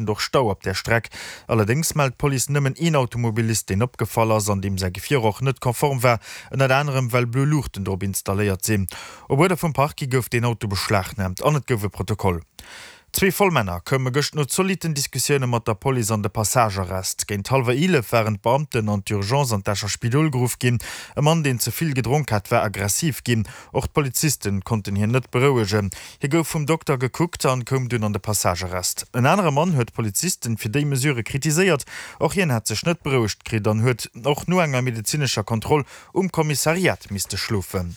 Och Stau op där Streck. Allerdéngs mellt d'Police nëmmen een Automobilist, deen opgefall ass an deem säi Gefier och net konform war, ënnert anerem well blo Luuchten drop installéiert sinn. Op Uerder vum Parquet gouf deen Auto beschlagnaamt an et gouf e Protokoll. Zwee Vollmänner koume gëscht no zolitten Diskussioune mat der Police an de Passagearrest. Géint hallwer 11 waren d'Beamten an d'Urgence an d'Escher Spidol geruff ginn. E Mann, deen ze vill gedronk hat, war aggressiv ginn. Och d'Polizisten konnten hien net berouegen. Hie gouf vum Dokter gekuckt an koum dunn an de Passagearrest. En anere Mann huet d'Polizisten fir déi Mesure kritiséiert. Och hien hat sech net berouegt kritt an huet och no enger medezinescher Kontroll um Kommissariat misste schlofen.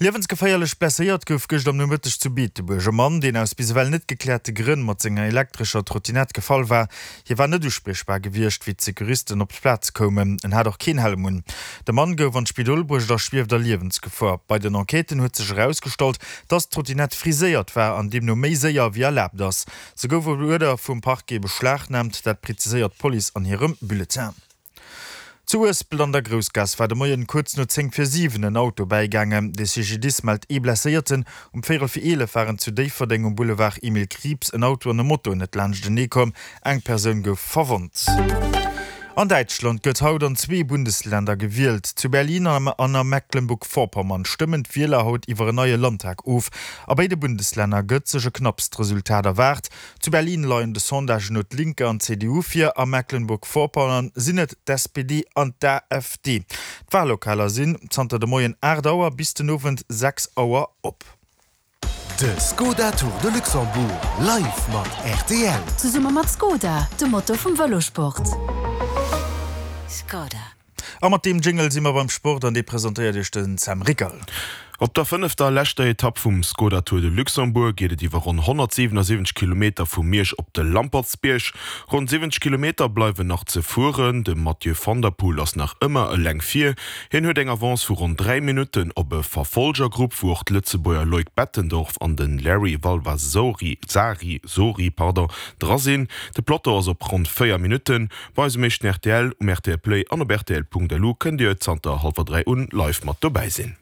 Liewensgeféierlech blesséiert gouf gëscht am Nomëtteg zu Beetebuerg e Mann, deen aus bis ewell net gekläerte Grënn mat senger elektrescher Trottinett gefall war. Hie war net uspriechbar gewiescht, wéi d'Securisten op d'Plaz koumen. En hat och keen Helm un. De Mann gouf an d'Spidol bruecht a schwieft a Liewensgefor. Bei den Enquêten huet sech erausgestallt, dass d'Trottinett friséiert war an deemno méi séier wéi erlaabt ass. Se gouf op Uerder vum Parquet beschlagnaamt, dat preziséiert d'Police an hirem Bulletin. Zu Uespelt an der Groussgaass war de Moien kuerz no 10 vir 7 en Auto bäigaangen. De CGDIS mellt ee Blesséierten. Um véierel vir 11 waren zu Déifferdeng um Boulevard Emile Krieps en Auto an e Moto net laanschtenee komm. Eng Persoun gouf verwonnt. An Däitschland gëtt haut an zwee Bundesländer gewielt. Zu Berlin an a Mecklenburg-Vorpommern stëmmen d'Wieler haut iwwer en neie Landtag of. A béide Bundeslänner gëtt sech e knappst Resultat erwaart. Zu Berlin leien de Sondagen no d'Linke an d'CDU vir, a Mecklenburg-Vorpommern sinn et d'SPD an d'AfD. D'Wallokaler sinn zanter de Moien 8 Auer bis den Owend 6 Auer op. De Skoda Tour de Luxembourg live mat rtl. Zesumme mat Skoda, de Motor vum Vëlosport. Skoda. A mat deem Jingle si mer beim Sport an dee presentéiert iech den Sam Rickel. Op der fënnefter a leschter Etapp vum Skoda Tour de Luxembourg geet et iwwer ronn 177 Kilometer vu Miersch op de Lampertsbierg. Ronn 70 Kilometer bleiwen nach ze fueren. De Mathieu van der Poel ass nach ëmmer eleng vir. Hien huet eng Avance vu ronn 3 Minutten op e Verfolgergrupp, wou och d'Lëtzebuerger Loïc Bettendorf an de Larry Valvasori, Sari, Sori, pardon, dra sinn. De Peloton ass op ronn 4 Minutten. Bei eis um éischten rtl, um rtl Play an op rtl.lu kënnt Dir zanter hallwer 3 un live mat dobäi sinn.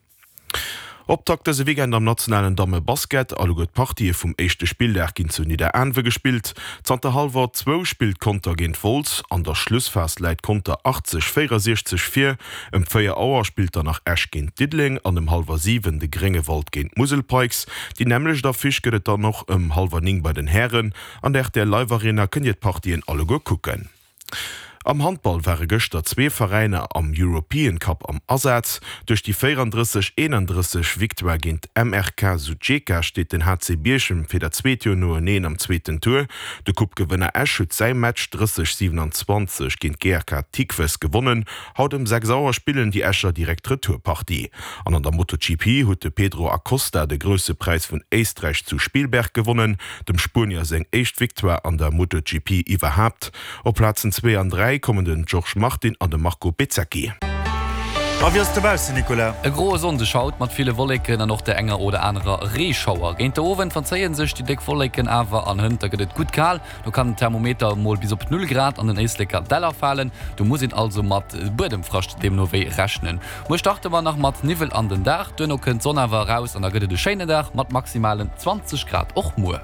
Optakt dëse Weekend am nationalen Damme-Basket. Alleguer d'Partië vum éischte Spilldag ginn zu Nidderaanwe gespillt. Zanter hallwer zwou spillt Conter géint Wolz. An der Schlussphas läit Conter 80, 64 vir. Ëm 4 Auer spillt dann nach Esch géint Diddeleng an ëm hallwer 7 de Gréngewald géint d'Musel Pikes. Déi nämmlecht Affiche gëtt et dann och ëm hallwer 9 bei den Hären. An der rtl Live Arena kënnt dir d'Partien alleguer kucken. Am Handball ware gëschter zwee Veräiner am European Cup am Asaz. Duerch déi 34, 31 Victoire géint MRK Sutjeska steet den HC Bierchem fir dat zweet Joer noeneen am zweeten Tour. De Coupe-Gewënner Esch huet säi Match 30, 27 géint GRK Tikves gewonnen. Haut ëm 6 Auer spillen déi Escher direkt d'Retourpartie. An an der MotoGP huet de Pedro Acosta de Grousse Präis vun Éisträich zu Spielberg gewonnen. Dem Spuenier seng éischt Victoire an der MotoGP iwwerhaapt. Op Plazen zwee an 3 kommen den Georges Martin an de Marco Bezzecchi. A wéi ass et dobaussen, Nicolas? E groe Sonndeg haut mat ville Wolleken an och der enger oder anerer Reeschauer. Géint de Owend verzéie sech déi déck Wolleken awer an hënt da gëtt et gutt kal. Do kann den Thermometer mol bis op 0 Grad an den Éisleker Däller falen. Do muss een also mat Buedemfrascht deemno wéi rechnen. Muer starte mer nach mat Niwwel an den Dag, duerno kënnt d'Sonn awer eraus an da gëtt et e schéinen Dag mat maximalen 20 Grad och muer.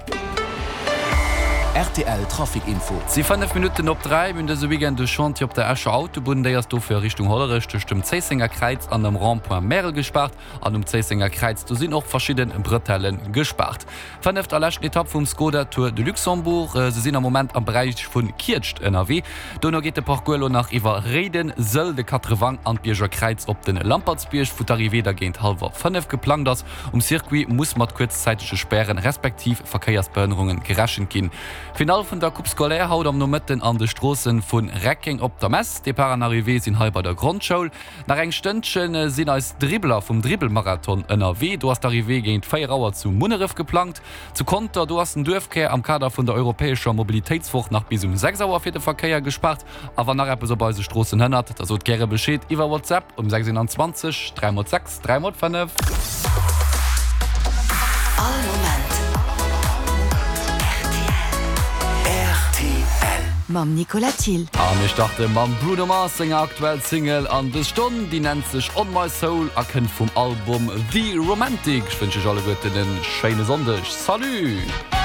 Rtl Trafic Info. Et si 5 Minutten op 3. Mir hunn dëse Weekend e Chantier op der Escher Autobunn. Déi ass dofir a Richtung Hollerech tëscht dem Zéissenger Kräiz an dem Rond-point Märel gespaart. An um Zéissenger Kräiz do sinn och verschidde Bretelle gespaart. Fënneft a leschten Etapp vum Skoda Tour de Luxembourg. Se sinn am Moment am Beräich vu Kietscht ënnerwee. Dono geet de Parcours elo nach iwwer Réiden, Sëll, de Quatrewang an d'Bierger Kräiz op de Lampertsbierg, wou d'Arrivée da géint hallwer 5 geplangt ass. Um Circuit muss mat kuerzzäitege Spären respektiv Verkéiersbehënnerunge gerechent ginn. Finall vun der Coupe scolaire haut am Nomëtten an de Stroosse vu Reckeng op der Mess. Depart an Arrivée sinn hei bei der Grondschoul. Nach eng Stënnchen sinn eis Dribbler vum Dribbelmarathon ënnerwee. Do ass d'Arrivée géint 4 Auer zu Munneref geplangt. Zu Conter, do ass den Duerfkär am Kader vun der europäescher Mobilitéitswoch nach bis um 6 Auer fir de Verkéier gespaart. A wann nach eppes op eise Stroossen hënnert, da sot gäre Bescheed iwwer WhatsApp um 6 21 3 x 6 3 x 5. All Moment rtl. Mam Nicolas Thill. A mir starte mam Bruno Mars senger aktuell Single an dës Stonn. Déi nennt sech On My Soul a kënnt vum Album The Romantic. Ech wënschen iech alleguerten en schéine Sonndeg. Salut!